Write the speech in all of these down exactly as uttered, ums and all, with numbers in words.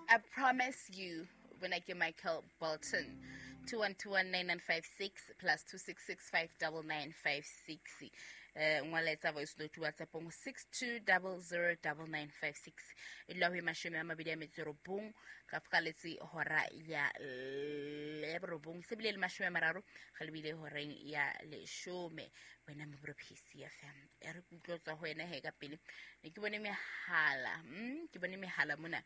I promise you when I get Michael Bolton. two one two one nine nine five six plus two six six five double nine five six. Eh ngwaletsa voice note WhatsApp on six two zero zero double nine five six. E dula ho e mashome a mabedi a metso e robong ka fokaletse hora ya le robong se bile le mashome a mararo ga lebile horeng ya leshome. Wena mo P C F M e re kutlwa ho wena he ka pele ne ke bone mehala mm ke bone mehala mona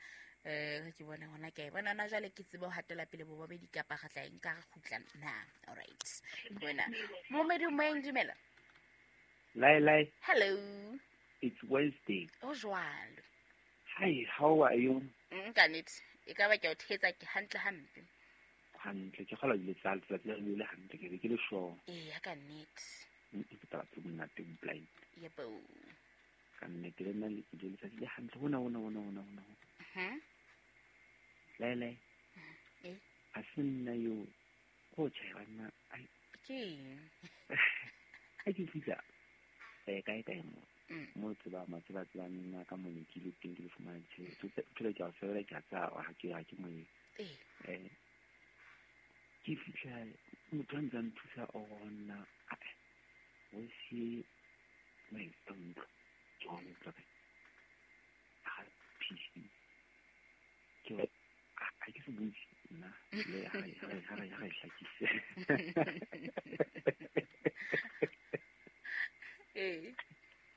eh ke bona hona ke bona na jwale ke tsebe ho hatela pele bo babedi kapa ga tla nka re khutla na. All right, wena momedi moeng dumela. Lai lai. Hello, it's Wednesday. O jwalo. Hi, how are you? Mm ka nnete e ka ba ke o thetsa ke hantle hampe. Hantle ke kgola le tsatsi tsatsi le le hantle ke be ke le sure. Eh ya ka nnete. Ke taba tse monate blind. Yebo. Ka nnete le nna le ke le tsatsi le hantle hona hona hona hona hona. Mhm. Lai lai. Eh. A se nna yo go tshela nna ai. Ke. A ke fitla. Eh kae kae mo. Mo tseba ma tseba tseba nna ka mo ke le teng ke le fumana tjhelete. Tjhelete ke a sebela ke a tsa ha ke ha ke mo. Eh. Eh. Ke fitla motho a ntse a nthusa ona. O se mai ntlo. Ke hona tla ka. Ha P C. Ke ha ke se butse nna le ha ha ha ha hlakise. Eh.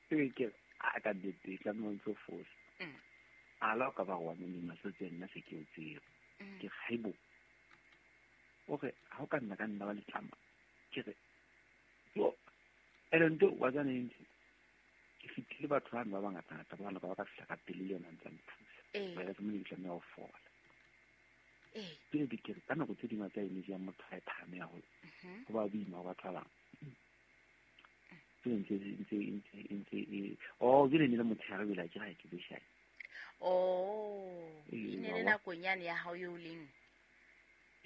Ke ke a ka dite tla mo ntso fosa. Mm. A la ka ba wa mo nna se tsena se ke o tseo. Ke haibo. O re ha o ka nna ka nna ba letlama. Ke re yo ene ntho wa tsana ntse. Ke fitile batho ba ba bangata ngata ba ba ka fihla ka pele le yona ntse nthusa. Eh. Ba re mo le tlameha ho fola. Eh. Ke di ke ka nako tse dingwe tsa energy ya motho ha e phahame haholo. Mhm. Ho ba boima ho batho ba bang. Ntse ntse ntse ntse e oh ke ne le motho ya ke ga ke beshai. Oh, e ne le nakong yane ya hao eo leng.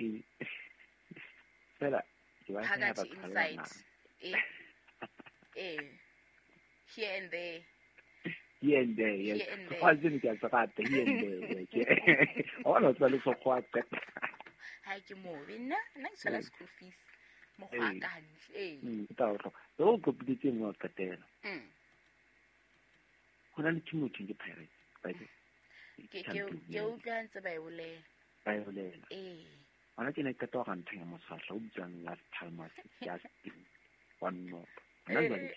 E fela ke ba ya batho inside. Eh. Eh. Here and there. Here and there, yes. Go tsene ke a tsata here and there. Ke o no tswa le so go a qeta. Ha ke mo nna nna ke tsala school fees. Mo go a ka hantle. Eh. Mm, ke tla o o kopiditse mo qetela. Mm. Ho na le team o ke Pirates, by the Ke ke ke utlwa ntse ba e bolela. Ba e bolela. Eh. Hona ke ne ke qeta go ntho ya moswahla o bitswang Las Palmas just one more. Hona jwale.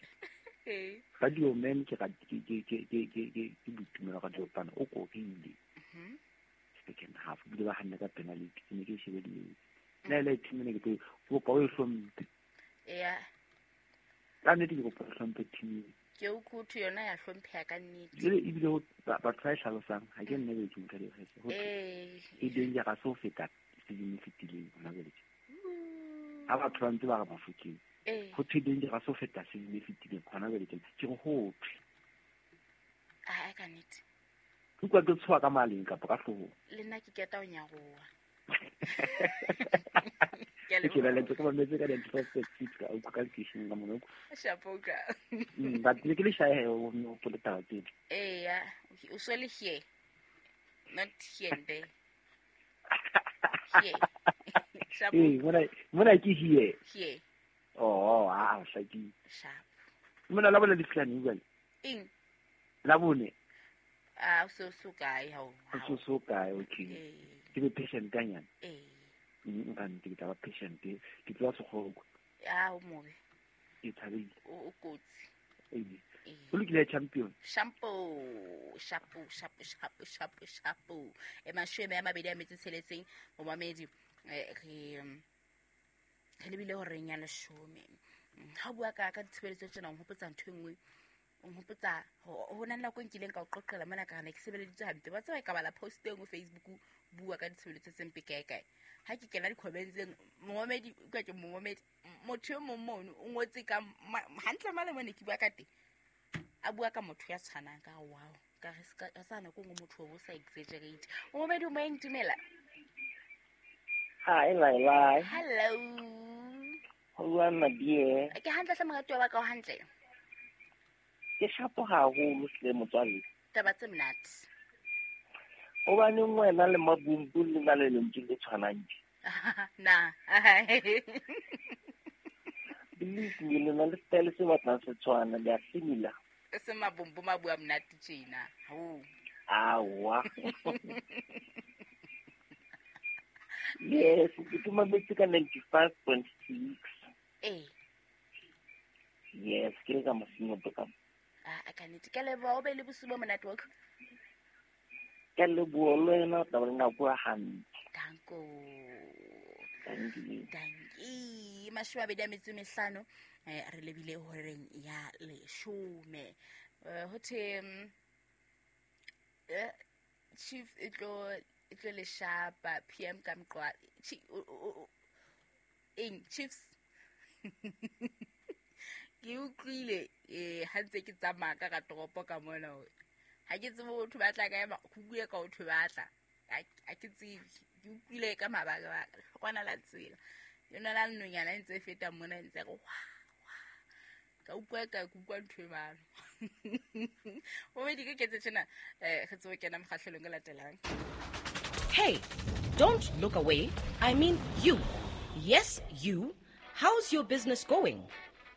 Eh. Radio Man ke ke ke ke ke ke ke ke boitumelo ka diopana o korile. Mhm. Second half bile ba hanne ka penalty ke ne ke shebelletse. Le le team ne ke tlo kopa o e hlomphe. Yeah. Ka nnete ke kopa o hlomphe team. Ke o khuthu yona ya hlompheha ka nnete. Jwale ebile ho batho ba e hlalosang ha ke nna be ke motho le ho. Eh. E dangerous ho feta season e fetileng hona jwale. Ha batho ba ntse ba re Bafokeng. Eh. Ho thwe dangerous ho feta season e fetileng hona jwale ke ke re ho thwe. Ah ka nnete. Ke kwa ke tshoha ka maleng kapa ka hloohong. Le nna ke keta ho nyaroha. Ke la lentse ka mametse ka di-twelve six ka o ka lekeisheneng ka mona. Shapoka. Mm, but ne ke le shae o no pole taba tsena. Eh ya, o so le here. Not here and there. Here. Shapo. Eh, mona mona ke here. Here. Oh, ah, hlakile. Sharp. Mona la bona ditlane jwale. Eng? La bone. Ah, so so kae ha o. So so kae, okay. Eh. Ke be patient kanyana. Eh. Nka nnete ke tla ba patient ke tloa sekgoko. Ah, o mobe. Ke thabile. O o kotsi. Eh. O lokile champion. Shampoo, shampoo, shampoo, shampoo, shampoo, shampoo. E mashome a mabedi a metsi tsheletseng momamedi re re lebile horeng ya leshome. Ha o bua ka ka ditshebeletso tsena o nhopotsa ntho e nngwe. O nhopotsa ho na le nako e nkileng ka o qoqela mona ka re ke sebeleditswe hampe. Ba tseba ka bala post e nngwe Facebook bua ka ditshebeletso tse mpe kae kae. Ha ke kena di-comments momamedi ka ke momamedi motho e mong mono o ngotse ka hantle male mone ke bua ka teng. A bua ka motho ya tshwanang ka wow ka re ska sa nako nngwe motho o sa exaggerate. Momamedi o moeng dumela. Hi Laila. Hello. Ho my dear. Ke hantle hle moratuwa wa ka o hantle. Ke shapo haholo hle motswalle. Taba tse monate. Hobaneng wena le Mabumbu le na le lentswe le tshwanang tje? Na. Believe me, le na le style se batlang se tshwana, le a similar. Se Mabumbu ma bua monate tjena. Ho. Awa. Yes, ke mametse ka ninety-five point six. Eh. Yes, ke le ka Masinyoto ka. Ah, ka nnete. Ke leboha, o be le bosiu bo monate wa ka. Ke leboha le wena, o tla ba le nako ya hantle. Danko. Danki. Danki. Mashome a mabedi a metso e mehlano, eh, re lebile horeng ya leshome. Eh, ho thwe, eh, Chief e tlo, e tlo le shapa, P M ka mqwa, Chi-, o, o, o, eng, Chiefs. Ke utlwile, eh, ha ntse ke tsamaya ka ka toropo ka mona hore ha ke tsebe ho thwe ba tla kae, ho bue ka ho thwe ba tla. Ha, ha ke tsebe. Ke utlwile ka mabaka, kwana la tsela. Yona la nonyana e ntse e feta mona e ntse re wa, wa. Ka utlwa ka utlwa ntho e balo. Bobedi ke ketse tjena, eh, re tsebe kena mokgahlelong o latelang. Hey, don't look away. I mean you. Yes, you. How's your business going?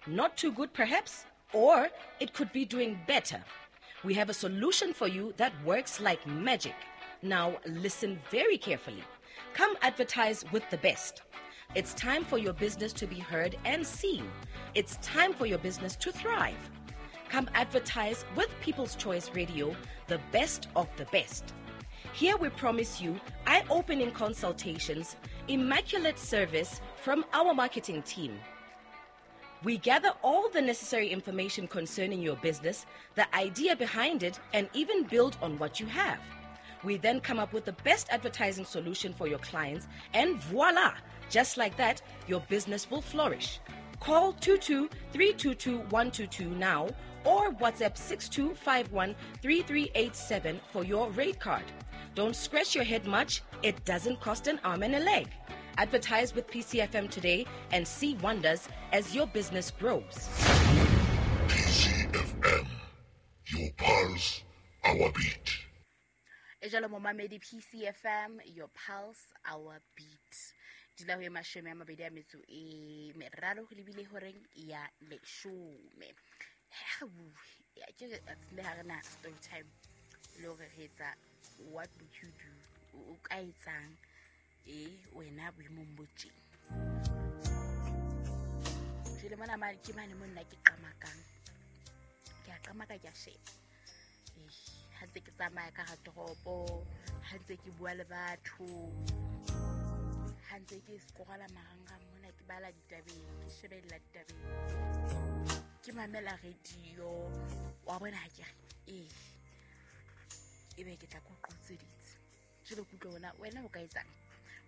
Not too good, perhaps? Or it could be doing better. We have a solution for you that works like magic. Now, listen very carefully. Come advertise with the best. It's time for your business to be heard and seen. It's time for your business to thrive. Come advertise with People's Choice Radio, the best of the best. Here we promise you eye-opening consultations, immaculate service from our marketing team. We gather all the necessary information concerning your business, the idea behind it, and even build on what you have. We then come up with the best advertising solution for your clients, and voila! Just like that, your business will flourish. Call two two three two two one two two now or WhatsApp six two five one three three eight seven for your rate card. Don't scratch your head much. It doesn't cost an arm and a leg. Advertise with P C F M today and see wonders as your business grows. P C F M, your pulse, our beat. Ejalo momamedi P C F M, your pulse, our beat. Dula ho e mashome a mabedi a metso e meraro ho lebile horeng ya leshome. Ha re bue, ya ke re le ha re na story time le hore re etsa what would you do, o ka etsang e wena boemong bo tjena. Jwale mona mane ke mane mo nna ke qamakang. Ke a qamaka ke a sheba. Eh, ha ntse ke tsamaya ka hara toropo, ha ntse ke bua le batho, ha ntse ke scrolla marangrang mona ke bala ditabeng, ke shebella ditabeng, ke mamela radio, wa bona ha ke re eh ebe ke tla ko qotseditse. Jwale ke utlwa wena, wena o ka etsang?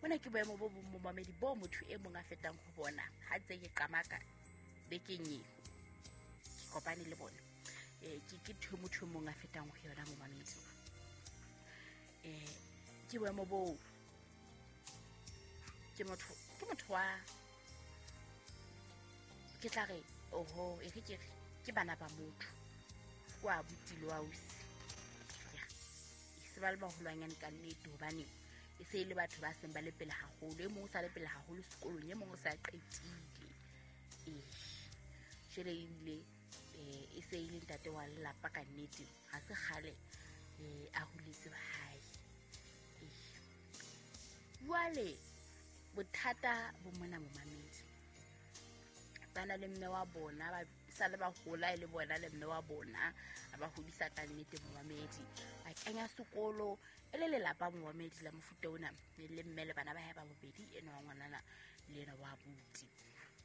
Mona ke boemo bo bong momamedi bo motho e mong a fetang ho bona ha ntse ke qamaka bekeng eo ke kopane le bona. Eh, ke ke ntho e motho e mong a fetang ho yona momamedi. Eh, ke boemo bo ke motho, ke motho wa ke tla re oho e re ke re ke bana ba motho kwa abuti le wa ausi. Ya. E se ba le baholwanyane ka nnete hobane e se e le batho ba seng ba le pele haholo. E mong o sa le pele haholo sekolong, e mong o sa qetile. Eh, jwale ebile, eh, e se e le ntate wa lelapa ka nnete. Ha se kgale, eh, a holetse hae. Eh. Jwale bothata bo mona momamedi. Ba na le mme wa bona, ba sa le ba hola e le bona le mme wa bona, a ba hodisa ka nnete momamedi. Ba kenya sekolo e le lelapa momamedi la mofuta ona, le mme le bana ba hae ba bobedi, enwa wa ngwanana le ena wa abuti.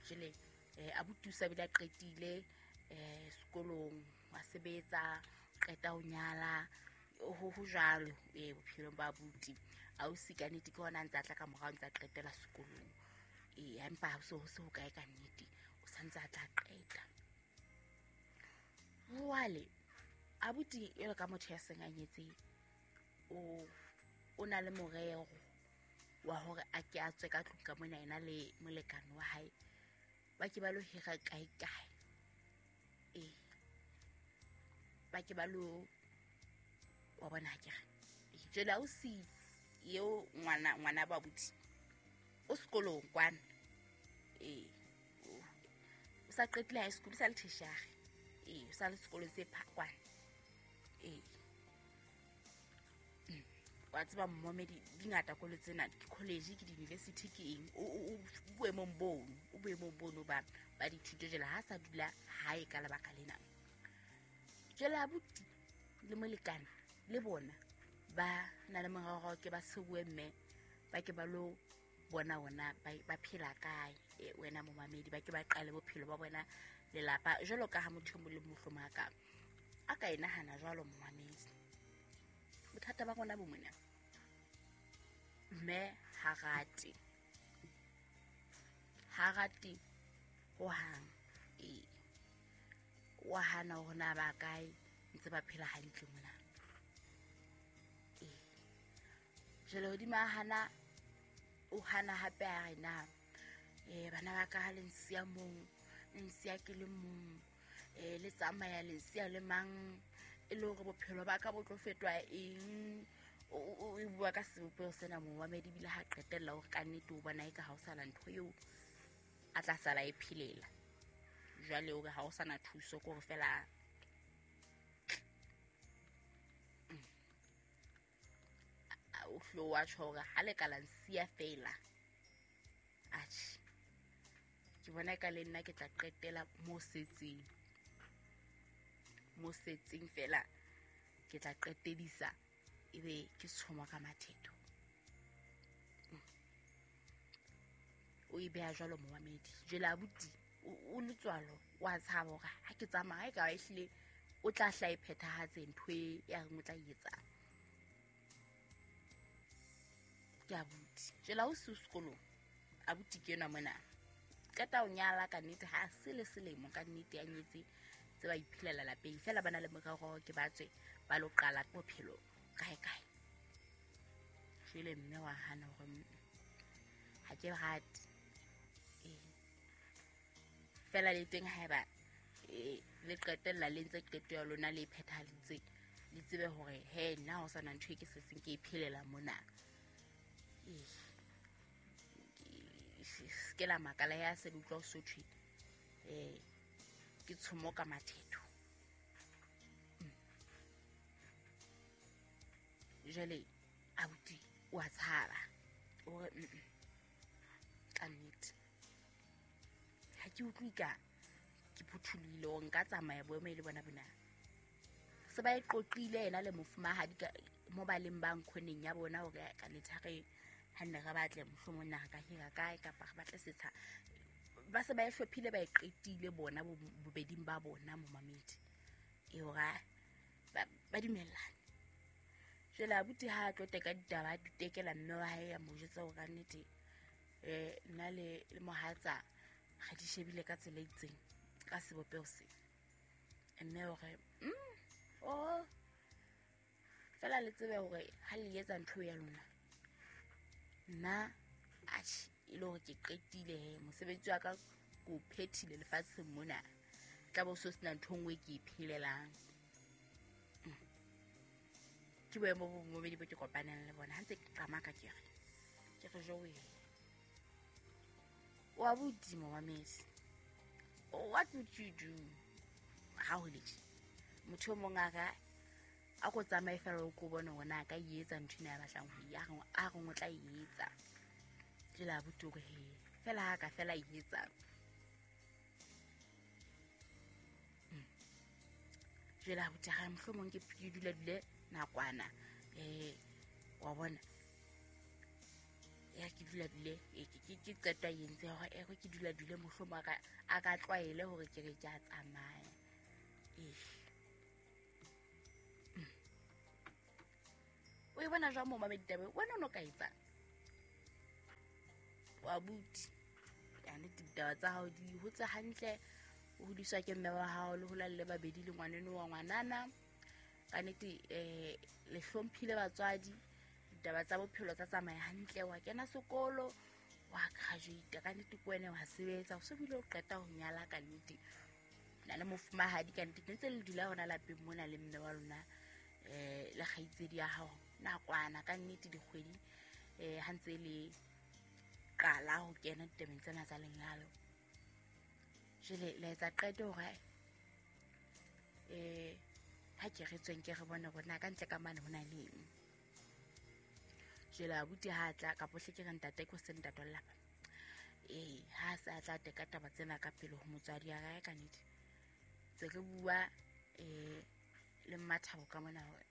Jwale, eh, abuti o sa bile a qetile, eh, sekolong, wa sebetsa, qeta ho nyala, ho, ho jwalo, eh, bophelong ba abuti. Ausi ka nnete ke hona a ntse a tla ka morao, a ntse a qetela sekolong. Eh, empa ha ho se ho se ho kae ka nnete, o sa ntse a tla qeta. Jwale, abuti jwalo ka motho ya seng a nyetse, o, o na le morero wa hore a ke a tswe ka tlung ka mona ena le molekane wa hae, ba ke ba lo hira kae kae. Eh, ba ke ba lo, wa bona ha ke re, eh, Jwale ausi eo ngwana ngwana ba abuti o sekolong kwana. Eh o sa qetile high school, sa le tertiary. Eh o sa le sekolong se phakwana. Eh wa tseba momedi di ngata kolo tsena, ke college, ke di-university, ke eng, o boemong bono, o boemong bono ba ba dithuto. Jwale ha sa dula hae ka lebaka lena. Jwale abuti le molekane le bona ba na le morero ke ba sewe mme ba ke ba lo bona ona ba phela kae wena momamedi, ba ke ba qale bophelo ba bona lelapa jwalo ka ha motho mo le mohlomong a ka a ka e nahana jwalo momamedi. Bothata ba rona bo mona, mme ha rate ha rate ho hang. E wa hana hore na ba kae ntse ba phela hantle mona. E jwale hodima hana o hana hape a re na eh bana ba ka ha le nsiya mong, nsiya ke le mong, eh le tsamaya le nsiya le mang, e le hore bophelo ba ka bo tlo fetwa eng. O bua ka sebopeho sena momamedi, ebile ha qetella hore ka nnete o bona eka ha o sana ntho eo a tla sala e phelela. Jwale hore ha o sana thuso ke hore fela o hlo wa tjho hore ha le ka la nsiya fela. Atjhe, ke bona eka le nna ke tla qetela mo setseng, mo setseng fela ke tla qetedisa ebe ke tshoma ka mathetho. O e beha jwalo momamedi. Jwale abuti o letswalo wa tshaba hore ha ke tsamaya e ka ba ehlile o tla hla e phethahatse ntho e ya reng o tla e etsang. Ke abuti. Jwale ha o se sekolong, abuti ke enwa mona qeta o nyala ka nnete, ha se le selemo ka nnete ya nyetse tse ba iphelela lapeng fela, ba na le morero ke ba tswe ba lo qala bophelo kae kae. Jwale mme wa hana hore ha ke rate. Eh fela le teng haeba le qetella le ntse qeto ya lona le phethahalitse, le tsebe hore he nna ho sana ntho e ke se seng ke e phelela mona. Eh se ke la makala ya se utlwa o sothwe eh ke tshomo ka mathetho. Jwale abuti wa tshaba o re ka nnete ha ke utlwe ka ke phuthulohile hore nka tsamaya boemo e le bona bona. Se ba e qoqile yena le mofumahadi ka mo ba leng ba nkhoneng ya bona hore ka nnete ha re ha nne re batle mohlomong na re ka hira kae kapa re batle setsha. Ba se ba e hlophile ba e qetile bona bobeding ba bona momamedi. E hore ba ba dumellane. Jwale abuti ha tlo teka ditaba di tekela mme wa hae ya mo jwetsa hore ka nnete eh nna le le mohatsa ga di shebile ka tsela e itseng ka sebopeho se. Mme hore mm oh fela le tsebe hore ha le etsa ntho ya lona nna atjhe e le hore ke qetile he mosebetsi wa ka ko phethile lefatsheng mona, tla bo so sena ntho nngwe ke e phelelang. Ke boemo bo momedi bo ke kopaneng le bona ha ntse ke qamaka ke re ke re jowe wa bodimo wa mesi. What would you do ha ho le motho o mong a ka a ko tsamaye fela o ko bone hore na ka e etsa ntho ena ya batlang ho ya a re o tla e etsa. Jwale abuti o re he fela ha ka fela e etsa. Jwale abuti ha mohlomong ke dula dule nakwana eh wa bona ya ke dula dule ke ke qetwa entse hore e ke dula dule mohlomong a ka a ka tlwaele hore ke re ke a tsamaya. Eh o e bona jwang mo mamedi taba wena o no ka etsang wa buti ya nnete ditaba tsa hao di hotse hantle, o hodiswa ke mme wa hao le hola le babedi le ngwaneno wa ngwanana ka nnete eh le hlomphile batswadi, ditaba tsa bophelo tsa tsamaya hantle, wa kena sekolo wa graduate ka nnete ke wena wa sebetsa o se bile o qeta ho nyala ka nnete na le mofumahadi ka nnete ntse le dula hona lapeng mona le mme wa lona eh le kgaitsedi ya hao Nakwana ka nnete dikgwedi eh ha ntse le qala ho kena ditabeng tsena tsa lenyalo. Jwale le etsa qeto hore eh ha ke re tsweng ke re bone hore na ka ntle ka mane hona le eng. Jwale abuti ha tla ka pohle ke re ntate ko se ntate wa lelapa. Eh ha sa tla teka taba tsena ka pele ho motswadi ya ka ka nnete. Tse re bua eh le Mmathabo ka mona hore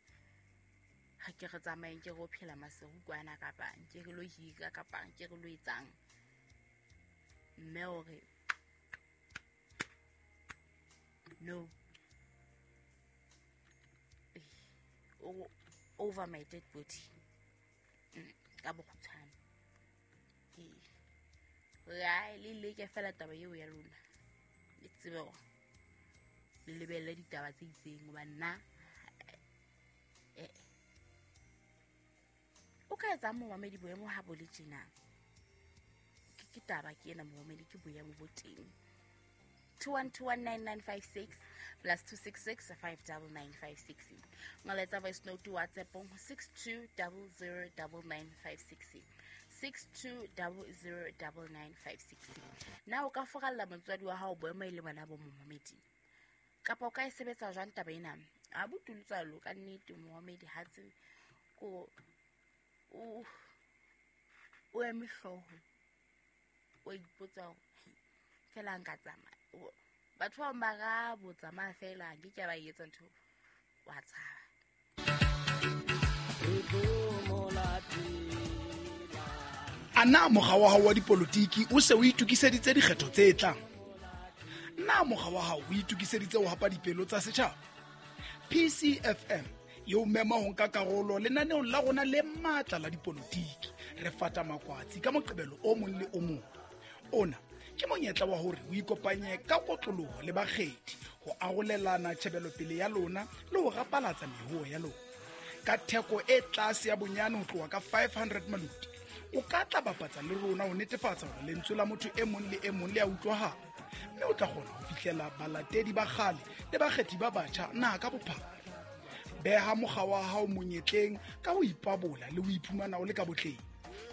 ha ke re tsamaeng ke re o phela Maseru kwana kapa nke re lo hira kapa nke re lo etsang. Mme o re no, over my dead body ka bokgutshwane. Ee, re le leke fela taba eo ya lona, le tsebe hore le lebelle ditaba tse itseng hoba nna eh o ka etsa momamedi boemo ha bo le tjena. Ke ke taba ke ena momamedi, ke boemo bo teng. two one two one nine nine five six plus two six six five nine nine five six. Ngoletsa voice note WhatsApp on six two zero zero nine nine five six. six two zero zero nine nine five six. Na o ka foralla motswadi wa hao boemo e le bona bo momamedi? Kapa o ka e sebetsa jwang taba ena? A botulutsalo ka nnete momamedi ha tse ko o o eme hlooho, o ipotsa hore fela nka tsamaya. Batho ba bang ba bo tsamaya fela nke ke ba etsa ntho wa tshaba. Ana mokga wa hao wa dipolotiki o se o itokiseditse dikgetho tse tlang? Na mokga wa hao o itokiseditse ho hapa dipelo tsa setjhaba? P C F M e o mema ho nka karolo lenaneong la rona le matla la dipolotiki. Re fata makwatsi ka Moqebelo o mong le o mong. Ona ke monyetla wa hore o ikopanye ka kotloloho le bakgethi ho arolelana tjhebelopele ya lona le ho rapalatsa mehoho ya lona. Ka theko e tlase ya bonyane ho tloha ka five hundred maluti, o ka tla bapatsa le rona ho netefatsa hore lentswe la motho e mong le e mong le a utlwahala, mme o tla kgona ho fihlela balatedi ba kgale le bakgethi ba batjha naha ka bophara. Beha mokga wa hao monyetleng ka ho ipabola le ho iphumana o le ka botleng.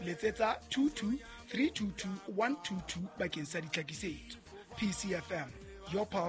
Letsetsa two two three two two one two two bakeng sa ditlhakisetso. P C F M, your pulse.